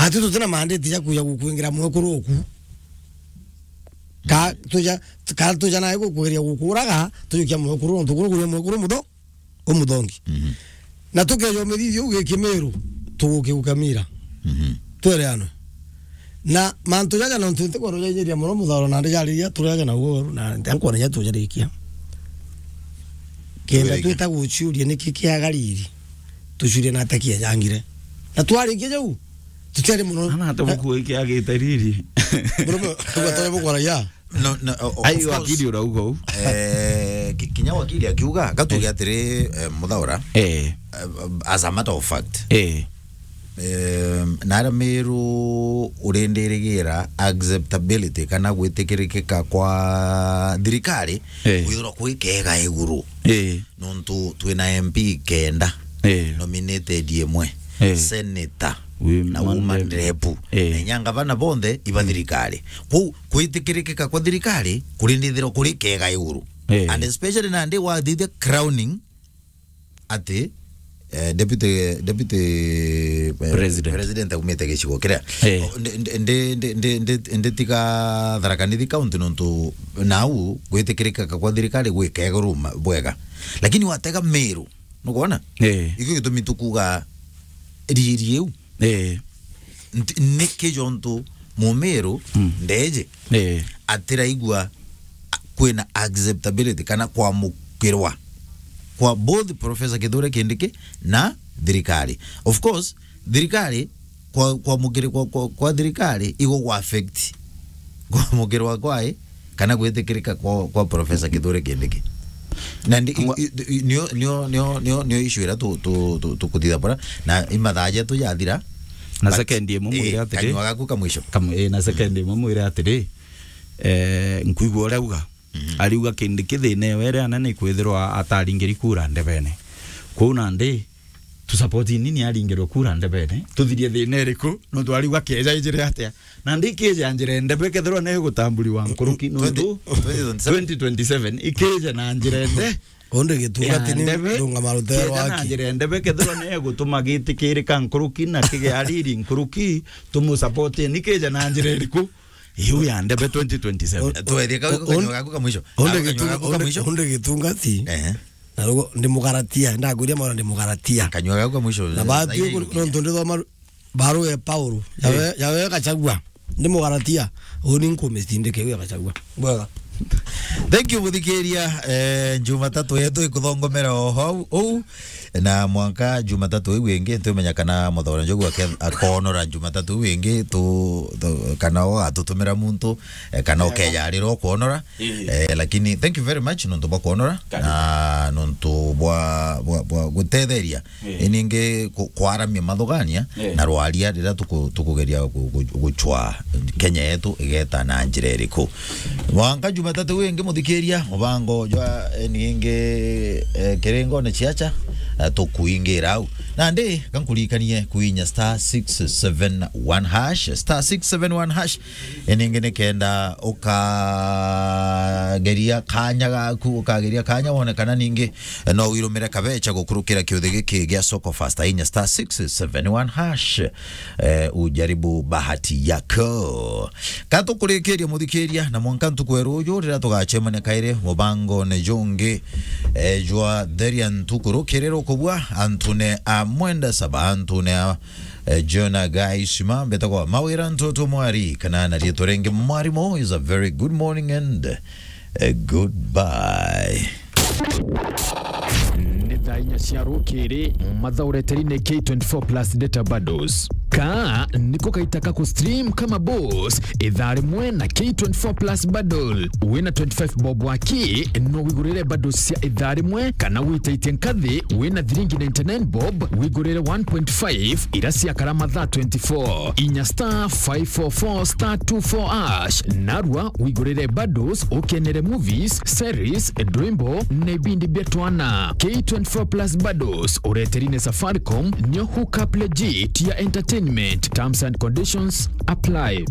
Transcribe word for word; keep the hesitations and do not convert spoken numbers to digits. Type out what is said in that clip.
Ati tutina mandate ja kuja gukwingira mwekuru oku. Ka tuja, ka tuja nae gukugeria gukuraga, tujukia mwekuru, nontu kuru kuria mwekuru mutho, umuthongi. Mhm. Na tukeja umithithia u gikimiru, tugukiukamira. Mhm. Twereanwe. Na mantu jaja nontu ntikwenda jainyiria muno mutharo, na ndijariria turaja na uoru, na nkwona ja tujarikia. Kenda twita guciuria niki kiagariri, tuciurie na ataki ejangire. Na twarikia jau, tutiari muno. Ana ate buku iki agite riri. Murume, ugatonya bukwara ya. No, no, o-, o-, Ai, of course. Wakili urauga u. Eh, ki-, kinya wakili akiuga, gatuge Eh. atiri, eh, Muthaura, Eh. eh, as a matter of fact. Eh. Eh, na aria Miru urindirigira acceptability kana gwitikirikika kwa thirikari, Eh. kwithirwa kwi kega iguru. Eh. Nontu twina M P kenda, Eh. nominated imwe, Eh. senator, na woman rep. Woman rep. Eh. Na inya ngavana bonthe iba Mm. thirikari. Kwou, kwitikirikika kwa thirikari, kurindithirwa kuri kega iguru. Eh. And especially nandi wathithia crowning ati, eh, deputy, deputy, eh, President. President aumite gicigo kiria. Eh. O, ndi, ndi, ndi, ndi, ndi, ndi, ndi tiga Tharaka Nithi County nontu nau gwitikirikika kwa thirikari gwi kega iguru ma-, bwega. Lakini watega Miru, nukwona? Eh. Ikio gitumi tukuga riri iu. Eh. Nti-, niki jontu Mumiru Mm. ndeje Eh. atiraigua a-, kwina acceptability kana kwamukirwa kwa both Professor Kithure Kindiki na thirikari. Of course, thirikari kwa, kwamukiri-, kwa, kwa, kwa thirikari igo gwa affect kwamukirwa kwae kana gwitikirika kwa, kwa Professor Kithure Kindiki. Na ndi-, Amwe- i-, i-, nio, nio, nio, nio, nio issue ira tu, tu, tu, tukuthitha bora, na imathaa jetu jathira. Na But, second imwe mwire eh, atiri. Kanyua gaku ka mwisho. Kam-, eh, na second imwe mwire atiri, eh, nkuigua uria auga. Mhm. Ariuga Kindiki thina ewe iria anene ikwithirwa ataringiri kura ndebene. Kwou nandi, tu support nini aringirwe kura ndebene? Tuthirie thina iriku? Nontu ariuga keja ijire atia? Nandi keja njira ndebe kethirwa ni igutamburiwa nkuruki nontu twenty, twenty twenty-seven. Twenty twenty-seven ikeja na njira ende. Undi gitunga ya tini ndebe, ndungama rutero keja na aki. Njira ndebe kethirwa ni igutuma gitikirika nkuruki na kigea riri nkuruki, tumu support ni keja na njira iriku? Iu ya ndebe twenty twenty-seven. Twethie kau, un-, kanyua gaku ka mwisho. Undi kanyua gitunga, gaku ka undi, mwisho. Undi gitunga ti. Ehe. Na rugo ndi Mugalatia, ndakwiria mwana ndi Mugalatia. Kanyua gaku ka mwisho. Na batu nontu ndithoma baru ya Paulo. Yawe, eh, yawe Gachagua. Ndi Mugalatia. Uni nkumistindike ya Gachagua. Bwega. Thank you, muthikiria. Eh, Jumatatu yetu ikuthongomera o hau, ou. Na mwanka Jumatatu iu ingi, ntiumenya kana Muthaura Njogu ake-, akonora Jumatatu iu ingi, tu, tu, kana o atutumira muntu, eh, kana ukejarira ukwonora. Eh. Eh, lakini thank you very much nontu bwa kwonora. Karibu. Na nontu bwa, bwa, bwa gutetheria. Eh. Iningi ku-, kwaramia mathugania, eh, na rwaria riria tuku-, tukugeria gu-, gu-, gucwa Kenya yetu igeta na njira iriku. Mwanka Jumatatu wingi muthikiria, mubango jwa, eh, ningi, eh, kiringone ciacha, eh, tukuingira au. Nandi, kankurikanie kuinya star six seven one hash, star six seven one hash. Iningi nikenda ukageria kanya gaku, ukageria kanya wone kana ningi, eh, no wirumire kabecha gukurukira kiuthi giki gia Soko Fasta, inya star six seven one hash. Eh, ujaribu bahati yako. Katukurikiria muthikiria, na mwanka ntuku ya ruju riria tugacemania kairi mubangone jungi, eh, jwa Theria Ntuku rukiri rukubua, antune a Mwenda Saba, antune a, eh, Jona Gaisima, mbetagwa Mawira Ntoto Mwari, kana na riitwa ringi Mwarimu, is a very good morning and, eh, goodbye. Nĩ thaa inya cia rũkĩrĩ, mathaũreteri nĩ K twenty-four plus data bundles. Kaa niko kaita ka ku stream kama boss, ithaa rimwe na K twenty-four plus bundle. Wina twenty-five bob waki, no wigurire bundles cia ithaa rimwe, kana witaitie nkathi, wina thiringi ninety-nine bob, wigurire one point five ira ciakara mathaa twenty-four. Inya star five four four star two four hash, narua wigurire bundles, ukenere movies, series, ndwimbo, na ibindi bia twana. K twenty-four plus bundles, ureteri ni Safaricom, nio hookup legit ya entertainment. Terms and conditions apply.